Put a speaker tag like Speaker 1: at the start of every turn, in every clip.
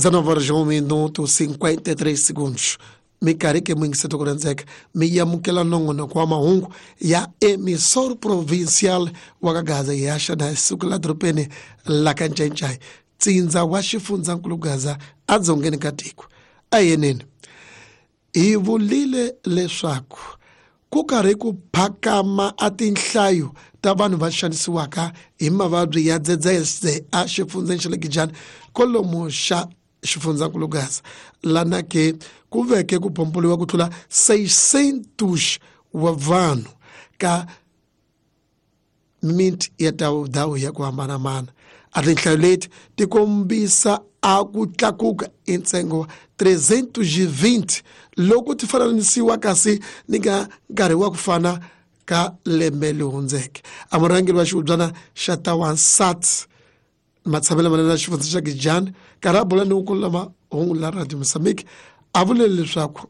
Speaker 1: 19 horas 1 minuto 53 segundos. Minkarhi ke muyingiseti ku rhandzeka mi amukela nongonoko wa mahungu ya Emissor Provincial wa ka Gaza hi haxa na siku la dorobeni la ka Ncayincai, tsindza wa xifundzankulu Gaza edzongeni ka tiko. A hi yeneni hi vulile leswaku ku karhi ku phakama a tinhlayo ta vanhu va xanisiwaka hi mavabyi ya dzedzese a xifundzeni xa le Gijani kolomu xa xifundzankulu Gaza, lana ke ku veke ku pompoliwa ku tlula 600 wa vanhu ka miti ya ndhawu ya ku hambanahambana. A tinhlayo leti ti kombisa a ku tlakuka i ntsengo 320 loko ti fananisiwa kasi ni ka nkarhi wa ku fana ka lembe leri hundzeke. A murhangeri wa xihubyana xa Tawansat matshamelo manene ya xifundza xa Gijani karhi a bula ni ku lama hungu la Radio Mozambique a vule leswaku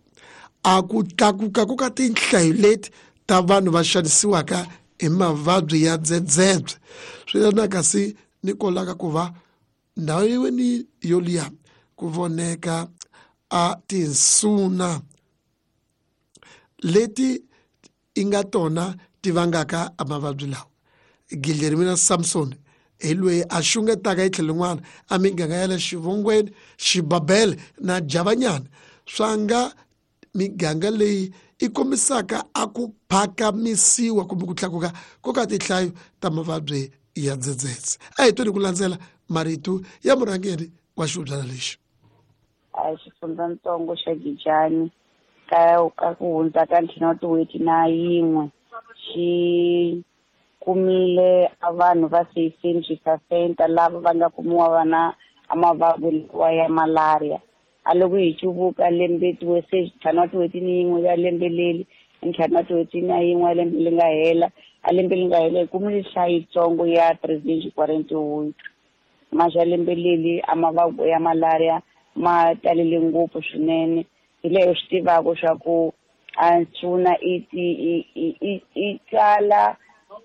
Speaker 1: a ku tlakuka ku ka tinhlayo leti ta vanhu va xanisiwaka hi mavabyi ya dzedzebye swi yelana kasi ni kolaka ku va ndhawu yin'we yoliya ku voneka a tinsuna leti i nga tona ti vangaka a mavabyi lawa. Guilhermina Samson hi loyi a xungetaka hi tlhelo rin'wana a miganga ya le Xivongweni, Xibabele na Javanyana swa nga miganga leyi i kombisaka a ku phakamisiwa kumbe ku tlakuka ko ka tinhlayo ta mavabyi ya dzedzedze. A hi tweni ku landzela marito ya murhangeri wa xihubyana lexi.
Speaker 2: A xifundzatsongo xa Gijani ka ku hundza ka ntlhanu wa tin'hweti na yin'we xi kumile a vanhu va 600 lava va nga kumiwa va na a mavabyi lawa ya malaria. A loko hi cuvuka lembe se ntlhanu wa tin'hweti ni yin'we ya lembe leri, ntlhanu wa tin'hweti na yin'we ya lembe leri nga hela, a lembe leri nga hela hi kumile nhlayo yitsongo ya 348. Maxa lembe leri a mavabyi ya malaria ma talele ngopfu swinene, hi leyo swi tivaka swa ku a nsuna i tsala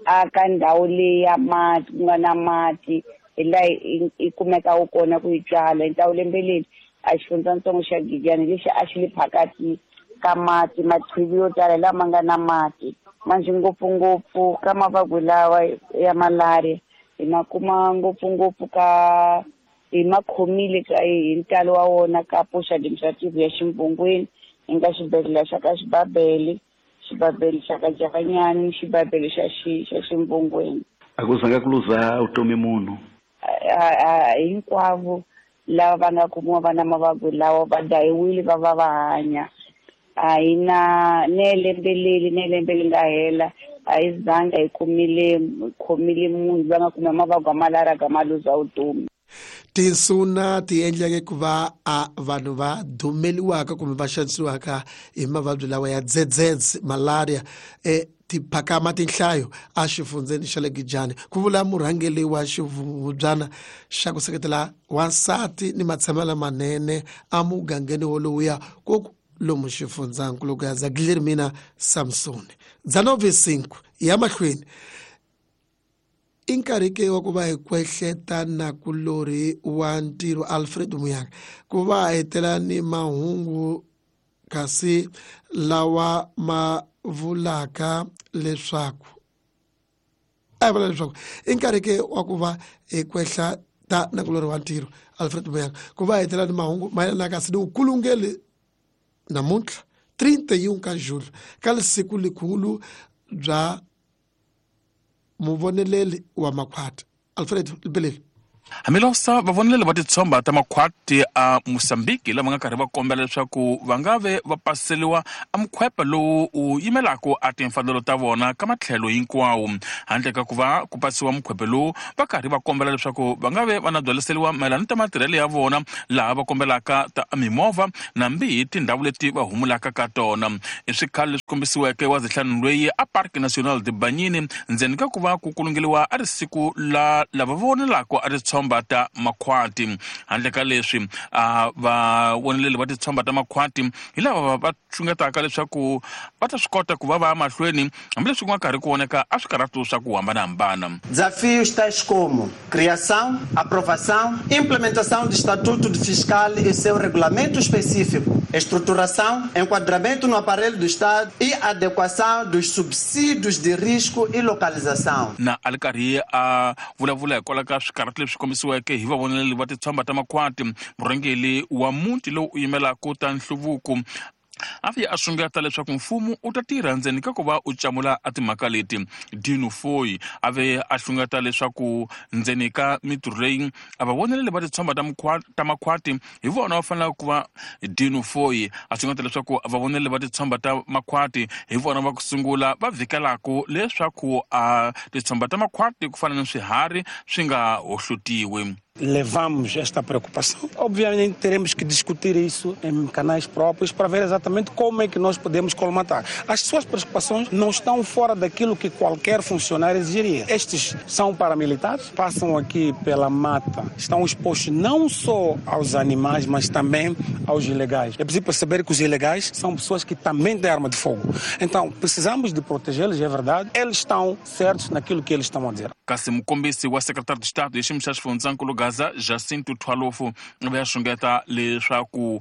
Speaker 2: a ka ndhawu leyi ya mati ku nga na mati, hi laha i kumekaka kona ku yi tswala. Hi ndhawu lembe leri a xifundzatsongo xa Giyani lexi a xi le phakati ka mati, machivi yo tala lama nga na mati manjhe ngopfungopfu ka mavabyi lawa ya malaria hi ma kuma ngopfungopfu ka hi ma khomile ka hi ntalo wa wona ka post administrative ya Ximbungweni, hi nga xibedhlele xa ka Xibabele, xibabele xa ka Javanyani ni xibabele xa xa Ximbungweni.
Speaker 3: A ku zanga ku luza vutomi munhu?
Speaker 2: Hinkwavo lava va nga kumiwa va na mavabyi lawa va dayiwile va va va hanya. A hi na ne lembe leri ne lembe leri nga hela a hi zanga hi kumile khomile munhu loyi a nga kuma mavabyi ya malaria ka ma luza vutomi.
Speaker 1: Tinsuna ti endleke ku va a vanhu va dumeliwaka kumbe va xanisiwaka hi mavabyi lawa ya dzedzedze malaria ti phakama tinhlayo a xifundzeni xa le Gijani, ku vula murhangeri wa xivubyana xa ku seketela wansati ni matshamelo lamanene emugangeni wolowuya ku lomu xifundzankulu Gaza, Guilhermina Samson. 19:05 ya mahlweni i nkarhi ke wa ku va hi kwehleta na kulorhi wa ntirho Alfred Muyanga ku va hetela ni mahungu kasi lawa ma vulaka leswaku a hi vula leswaku i nkarhi ke wa ku va hi kwehla ta na kulorhi wa ntirho Alfred Muyanga ku va hetela ni mahungu mayelana kasi ni vukulungeli namuntlha 31 ka Julho ka siku likulu bya muvoneleli wa makhwati. Alfred Lipeleli.
Speaker 4: Hambiloko vavoneleli va titshomba ta makhwati a Mozambique lava nga karhi va kombela leswaku va nga ve va paseliwa a mukhwepe lowu wu yimelaka a timfanelo ta vona ka matlhelo hinkwawo, handle ka ku va ku pasiwa mukhwepe lowu va karhi va kombela leswaku va nga ve va na byaliseliwa mayelana ta matirhelo ya vona, laha va kombelaka ta mimovha nambi hi tindhawu leti va humulaka ka tona. I swikhalo leswi kombisiweke wa zihlanu loyi a Parc National de Banyini ndzeni ka ku va ku kulungeliwa a ri siku la lava vonelaka a ri titshomba ta makhwati. Handle ka leswi a vavoneleli va titshomba ta makhwati hi lava va xungetaka leswaku va ta swi kota ku va va ya mahlweni hambileswi ku nga karhi ku voneka a swikarhatu swa ku hambanahambana.
Speaker 5: Desafios tais como criação, aprovação, implementação do Estatuto de Fiscal e seu regulamento específico, estruturação, enquadramento no aparelho do Estado e adequação dos subsídios de risco e localização.
Speaker 4: Na a ri karhi a vulavula hikwalaho ka swikarhatu leswi kombisiweke hi vavoneleli va titshomba ta makhwati, murhangeri wa muti lowu u yimelaka ta nhluvuko a fika a xungeta leswaku mfumo u ta tirha ndzeni ka ku va u camula a timhaka leti. Dino Foy a ve a xungeta leswaku ndzeni ka mitirho leyi a va voneleli va titshomba ta makhwati hi vona va fanelaka ku va. Dino Foy a xungeta leswaku va voneleli va titshomba ta makhwati hi vona va ku sungula va vhikelaka leswaku a titshomba ta makhwati ku fana ni swiharhi swi nga hohlotiwi.
Speaker 6: Levamos esta preocupação. Obviamente teremos que discutir isso em canais próprios para ver exatamente como é que nós podemos colmatar. As suas preocupações não estão fora daquilo que qualquer funcionário exigiria. Estes são paramilitares, passam aqui pela mata, estão expostos não só aos animais, mas também aos ilegais. É preciso perceber que os ilegais são pessoas que também têm arma de fogo. Então, precisamos de protegê-los, é verdade. Eles estão certos naquilo que eles estão a dizer.
Speaker 4: Kasi mukombisi wa secretário de Estado xiyimo xa xifundzankulu Gaza Jacinto Thwalofu va ya xungeta leswaku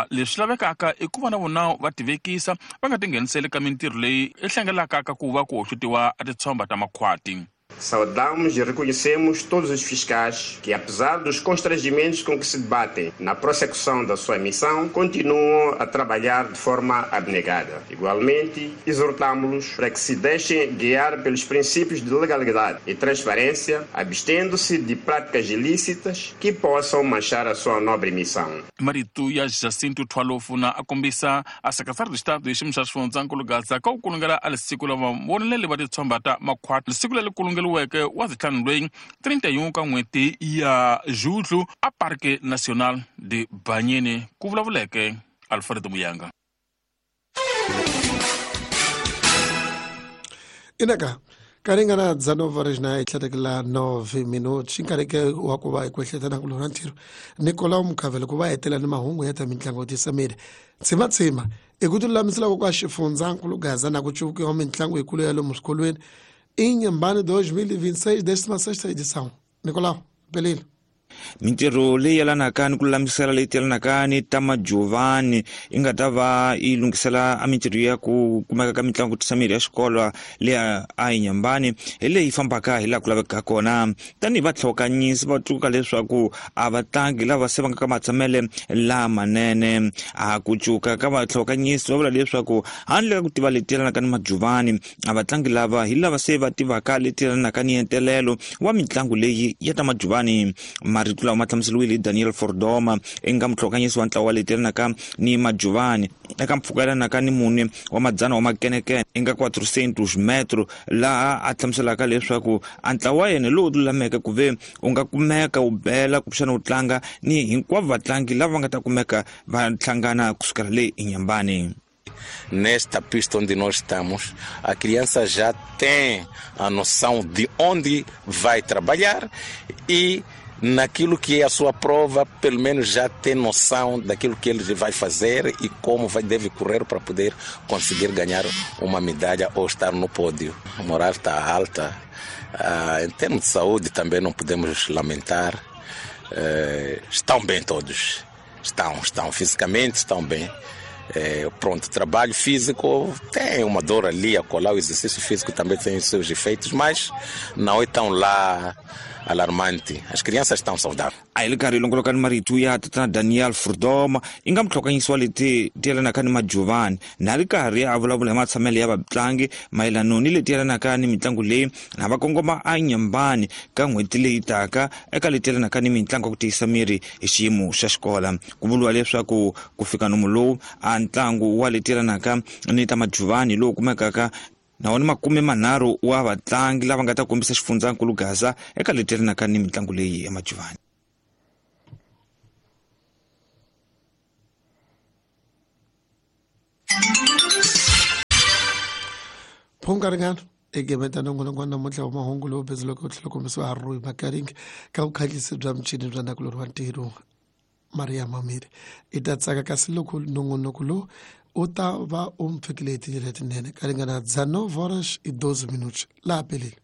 Speaker 4: leswi lavekaka i ku va na vona va tivekisa va nga tingheniseli ka mintirho leyi i hlangelaka ka ku va ku hohlotiwa a titshomba ta makhwati.
Speaker 7: Saudamos e reconhecemos todos os fiscais que, apesar dos constrangimentos com que se debatem na prossecução da sua missão, continuam a trabalhar de forma abnegada. Igualmente, exortamo-los para que se deixem guiar pelos princípios de legalidade e transparência, abstendo-se de práticas ilícitas que possam manchar a sua nobre missão.
Speaker 4: Marito ya Jacinto Thwalofu na a kombisa a secretário de Estado xiyimo xa xifundzankulu Gaza ka ku kulungela a lisiku lava voneleli va titshomba ta makhwati lisiku leri kulungeliweke wa zitlhanu lweyi 31 ka n'hweti ya Julho a Parque Nacional de Banyeni, ku vulavuleke Alfredo Muyanga.
Speaker 1: Inaka karingana dza 9 horas na itlhatekela 9 minutos nkarhi wa ku va hi kwehletana ku lona ntirho Nicolau Mukhavele ku va hetela ni mahungu ya ta mitlangu tisamile tsimatsima i ku tilulamisela ku ka xifundzankulu Gaza na ku cuvukiwa mitlangu yikulu ya lomu swikolweni Inhambane 2026, 16ª edição. Nicolau, Pelilo.
Speaker 8: Mintirho leyi yelanaka ni ku lulamisela leyi yelanaka ni ta majuvani yi nga ta va yi lunghisela a mintirho ya ku kumeka ka mitlangu ku tisa mirhi ya xikolo leyi a Inhambane hi leyi fambaka hi laha ku lavekaka kona. Tanihi vatlhokanyisi va tsundzuka leswaku a vatlangi lava se va nga ka matshamele lamanene. A ku cuka ka vatlhokanyisi va vula leswaku handle ka ku tiva leti yelanaka ni majuvani a vatlangi lava hi lava se va tivaka leti yelanaka ni entelelo wa mitlangu leyi ya ta majuvani. Marito lawa ma hlamuseriwile hi Daniel Fordoma eka mutlhokanyisi wa ntlawa wa leti yelanaka ni majuvani eka mpfhuka yelanaka ni mune wa madzana wa makenekene eka 400 metro, laha a hlamuselaka leswaku a ntlawa wa yena lowu lulameke ku ve u nga kumeka u bela kumbexana u tlanga ni hinkwavo vatlangi lava va nga ta kumeka va hlangana kusukela le Inhambane.
Speaker 9: Nesta pista onde nós estamos, a criança já tem a noção de onde vai trabalhar e naquilo que é a sua prova, pelo menos já tem noção daquilo que ele vai fazer e como deve correr para poder conseguir ganhar uma medalha ou estar no pódio. A moral está alta. Em termos de saúde também não podemos lamentar. Estão bem todos. Estão fisicamente, estão bem. Pronto, trabalho físico tem uma dor ali a colar, o exercício físico também tem os seus efeitos, mas não é tão lá alarmante. As crianças estão saudáveis.
Speaker 8: A hi le karhi longoloka ni marito ya tatana Daniel Furdoma i nga mutlhokanyisi wa leti ti yelanaka ni majuvani na ri karhi a vulavula hi matshamelo ya vatlangi mayelano ni leti yelanaka ni mitlangu leyi na va kongoma a Inhambane ka n'hweti leyi taka eka leti yelanaka ni mitlangu ya ku tiyisa miri hi xiyimo xa xikola. Ku vuriwa leswaku ku fika nomu lowu a ntlangu wa leti yelanaka ni ta majuvani lowu kumekaka na wona 30 wa vatlangi lava nga ta kombisa xifundzankulu Gaza eka leti yelanaka ni mitlangu leyi ya majuvani.
Speaker 1: Phunga ringana. Egemeta nongonoko wa namuntlha wa mahungu lowu bindzuleke wu tlhela kombisiwa ha Rui Makaring ka vukhatlisi bya michini bya nakulori wa ntirho Maria Mamiri. I ta tsaka kasi loko nongonoko lowu u ta va u mi fikile hi tindlela letinene ka ringana 19 horas e 12 minutos laha pelile.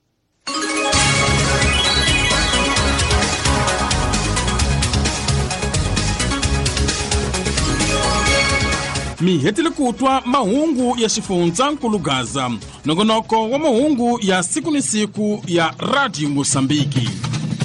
Speaker 4: Mi hetile ku twa mahungu ya xifundzankulu Gaza, nongonoko wa mahungu ya siku ni siku ya Radio Mosambiki.